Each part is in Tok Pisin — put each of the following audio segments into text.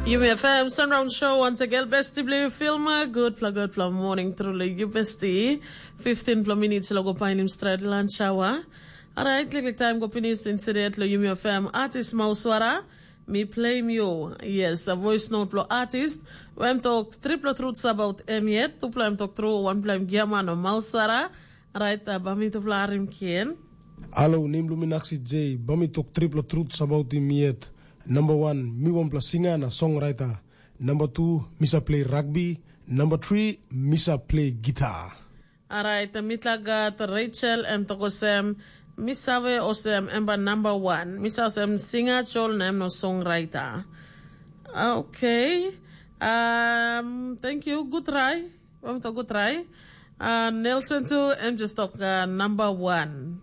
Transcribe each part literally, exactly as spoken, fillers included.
Yumi F M Sunround Show, once again, besti bilong film. Good pla, good pla morning, truly, you besti. Fifteen pla minutes lo go painim stret lunch hour. Alright, klik, klik time go finish instead lo Yumi F M artist Mauswara. Mi play you. Yes, a voice note lo artist. When talk triple truths about em yet, two pla em talk true, one pla em giaman o Mauswara. Alright, uh, bami tupla arim kien. Alo, nem Luminaxi J, bami talk triple truths about him yet. Number one, mi wanpela singer na songwriter. Number two, mi sa play rugby. Number three, mi sa play guitar. Alright, mitla gat Rachel em tokosem, mi save osem em ba number one. Mi sa osem singer chol na em no songwriter. Okay. Um, thank you. Good try. Em tok good try. Uh, Nelson tu, em just tok uh, number one.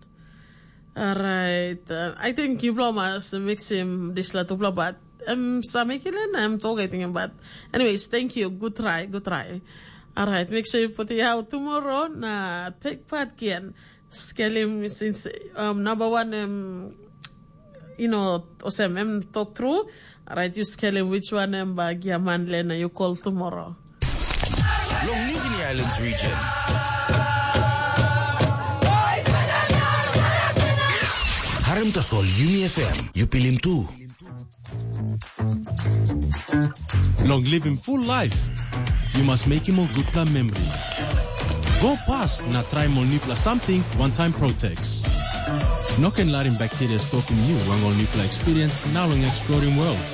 Alright. Uh, I think you blow mas mixim disla tupla bat. Em sa mekilen, em tok I think bat. Anyways, thank you. Good try, good try. Alright, make sure you put it out tomorrow. Na take part again. Skelim since um, number one em you know, osem em talk through. Alright, you skelim which one em ba giaman le na you call tomorrow. Long Nigini Islands region. Harem tasol Yumi F M, you pilim tu. Long living full life, you must make him a good plan memory. Go past na try ol nipla something one time Protex. No ken larim bacteria stopim you long ol nipla experience na long exploring world.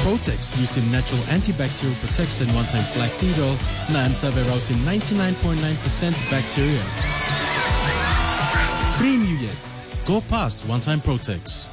Protex using natural antibacterial protection one time flaxseed oil na em save rausim ninety-nine point nine percent bacteria. Free you yet. Go past one time Protex.